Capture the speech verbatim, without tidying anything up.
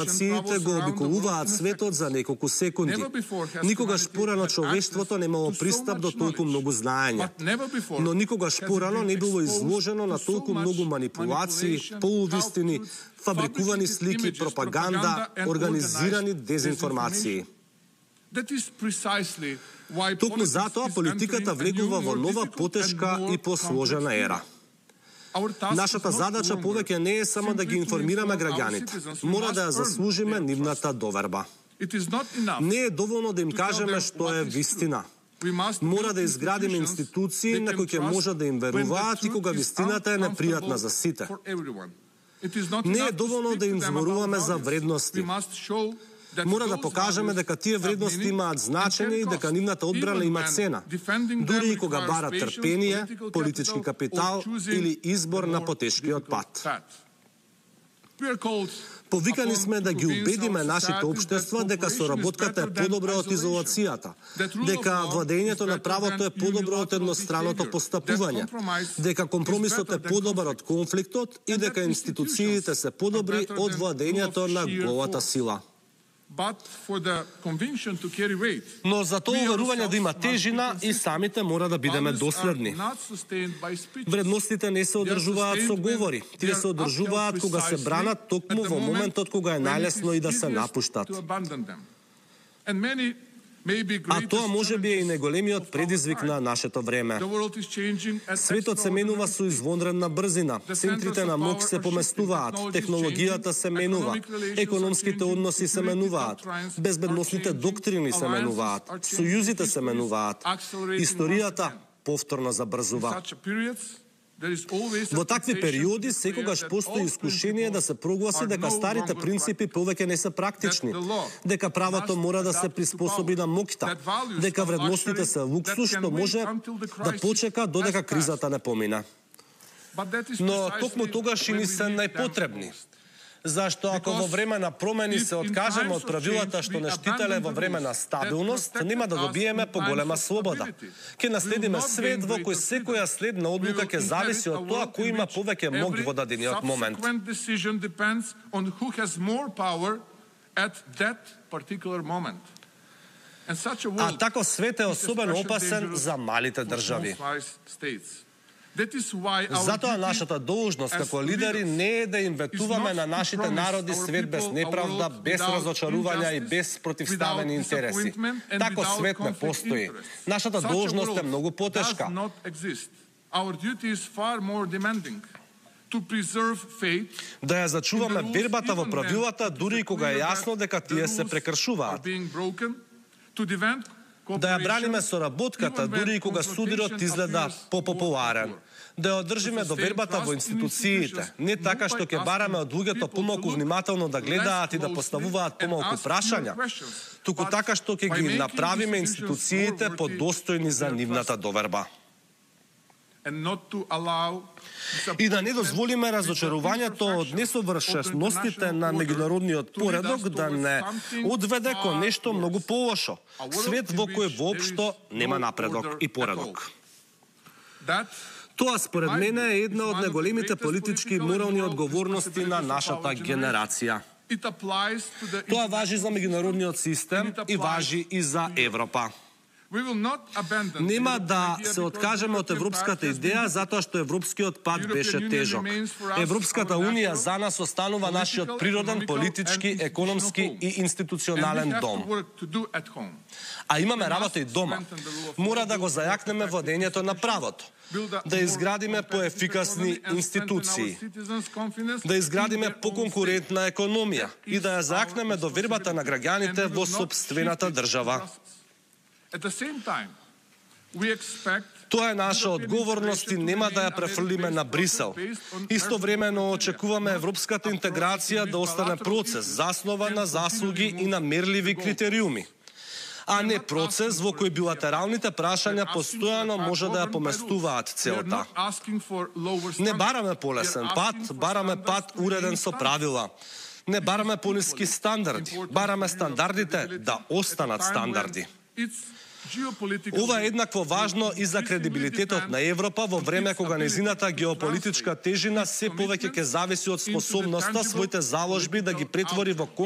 Нациите го обиколуваат светот за неколку секунди. Никогаш порано човештвото немало пристап до толку многу знаење. Но никогаш порано не било изложено на толку многу манипулации, полувистини, фабрикувани слики, пропаганда, организирани дезинформации. Токму затоа политиката влегува во нова, потешка и посложена ера. Нашата задача повеќе не е само да ги информираме граѓаните, мора да ја заслужиме нивната доверба. Не е доволно да им кажеме што е вистина. Мора да изградиме институции на кои ќе можат да им веруваат и кога вистината е непријатна за сите. Не е доволно да им зборуваме за вредности. Мора да покажеме дека тие вредности имаат значење и дека нивната одбрана има цена, дури и кога барат трпение, политички капитал или избор на потешкиот пат. Повикани сме да ги убедиме нашите општества дека соработката е подобра од изолацијата, дека владењето на правото е подобро од едностраното постапување, дека компромисот е подобар од конфликтот и дека институциите се подобри од владењето на голата сила. Но за тоа уверување да има тежина и самите мора да бидеме доследни. Вредностите не се одржуваат со говори, тие се одржуваат кога се бранат токму во моментот кога е најлесно и да се напуштат. А тоа може би е и најголемиот предизвик на нашето време. Светот се менува со извонредна брзина, центрите на мок се поместуваат, технологијата се менува, економските односи се менуваат, безбедносните доктрини се менуваат, сојузите се менуваат, историјата повторно забрзува. Во такви периоди секогаш постои искушение да се прогласи дека старите принципи повеќе не се практични, дека правото мора да се приспособи на моќта, дека вредностите се луксус што може да почека додека кризата не помине. Но токму тогаш и ни се најпотребни. Зашто ако во време на промени се откажеме од правилата што не штителе во време на стабилност, нема да добиеме поголема слобода. Ке наследиме свет во кој секоја следна одлука ќе зависи од тоа кој има повеќе мок во дадениот момент. А тако свет е особено опасен за малите држави. Затоа нашата должност како лидери не е да им ветуваме на нашите народи свет без неправда, без разочарувања и без противставени интереси. Тако свет не постои. Нашата должност е многу потешка. Да ја зачуваме вербата во правилата дури и кога е јасно дека тие се прекршуваат. Да ја браниме соработката дури и кога судирот изгледа попопуларен. Да ја одржиме довербата во институциите, не така што ќе бараме од луѓето помалку внимателно да гледаат и да поставуваат помалку прашања, туку така што ќе ги направиме институциите подостојни за нивната доверба. И да не дозволиме разочарувањето од несовршеностите на меѓународниот поредок да не одведе кон нешто многу полошо, свет во кој воопшто нема напредок и поредок. Тоа според мене е една од најголемите политички и морални одговорности на нашата генерација. Тоа важи за меѓународниот систем и важи и за Европа. Нема да се откажеме од европската идеја затоа што европскиот пат беше тежок. Европската унија за нас останува нашиот природен, политички, економски и институционален дом. А имаме работа и дома. Мора да го зајакнеме владењето на правото, да изградиме поефикасни институции, да изградиме поконкурентна економија и да ја зајакнеме довербата на граѓаните во сопствената држава. Тоа е наша одговорност и нема да ја префрлиме на Брисел. Истовремено очекуваме европската интеграција да остане процес заснован на заслуги и на мерливи критериуми, а не процес во кој билатералните прашања постојано може да ја поместуваат целта. Не бараме полесен пат, бараме пат уреден со правила. Не бараме пониски стандарди, бараме стандардите да останат стандарди. Ова е еднакво важно и за кредибилитетот на Европа во време кога незината геополитичка тежина се повеќе ќе зависи од способноста своите заложби да ги претвори во конкретни